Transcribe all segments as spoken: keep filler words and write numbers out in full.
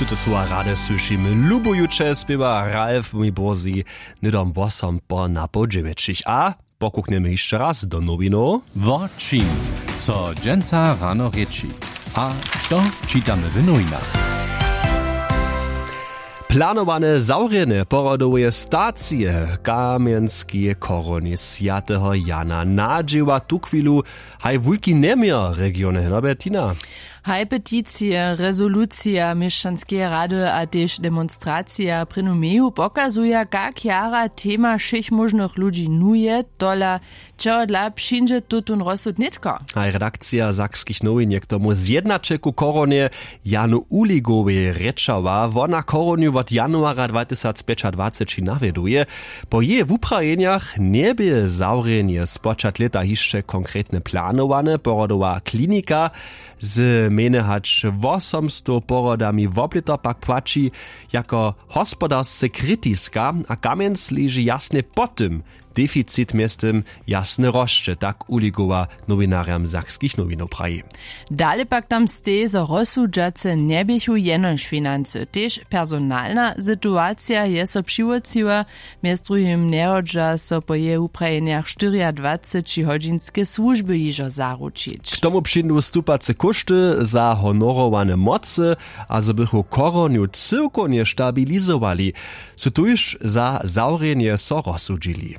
Tute słowa rady słyšimy lubujuće spěwa ralf mi bórzi hnydom wosom po napoł dźewjećich a pokuknjemy hišće raz do nowinow. Wo čim? Co dźensa rano rěči a što čitamy w nowinach? Planowane zawrjenje porodoweje stacije w kamjenskej chorowni swjateho jana nadźěła tuchwilu haj wulki njeměr regiony hnobetina. Haj peticije rezolucija měšćanskeje rady a tež demonstracija prěnu meju pokazuja kak jara tema wšěch móžnych ludźi nuje tola čehodla přińdźe tutón rozsud nětko? Haj redakcija sakskich nowin je k tomu zjednaćelku chorownje janu uligowej rěčała wona chorownju wot januara dwatysacpjećadwaceći nawjeduje. Po jeje wuprajenjach njebě zawrjenje spočatk lěta hišće konkretne planowane porodowa klinika z mjenje hač wosomstow porodami woblěto pak płaći jako hospodarsce kritiska a kamjenc leži jasnje po tym deficit mjeztym jasnje rosće tak uligowa nowinarjam sakskich nowinow praji. Dale pak tam stej zo rozsudźace njeběchu jenož financy tež personalna situacija je so přiwótřiła. Mjez druhim njehodźa so po jeje wuprajenjach štyriadwaceći hodźinske słužby hižo zaručić k tomu přińdu stupace kóšty za honorowane mocy a zo bychu chorownju cyłkownje stabilizowali su tuž za zawrjenje so rozsudźili.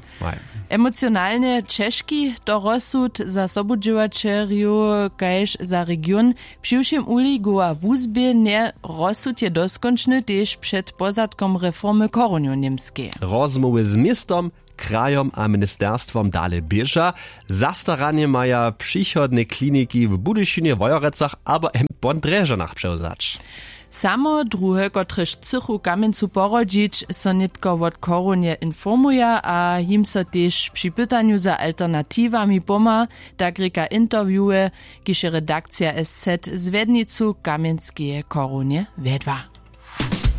Emocionalnje ćežki to rozsud za sobudźěłaćerjow kaž za region. Přiwšěm uligowa wuzběhnje rozsud je doskónčny tež před pozadkom reformy chorownjow němskej. Rozmołwy z městom krajom a ministerstwom dale běža zastaranje maja přichodne kliniki w budyšinje wojerecach abo jem pon drježanach přewzać. Samo druhe kotrež chcychu kamjencu porodźić so nětko wot chorownje informuja a jim so tež při pytanju za alternatiwami pomha, tak rěka interviewe kiž je redakcija sz z wjednicu kamjenskeje chorownje wjedła.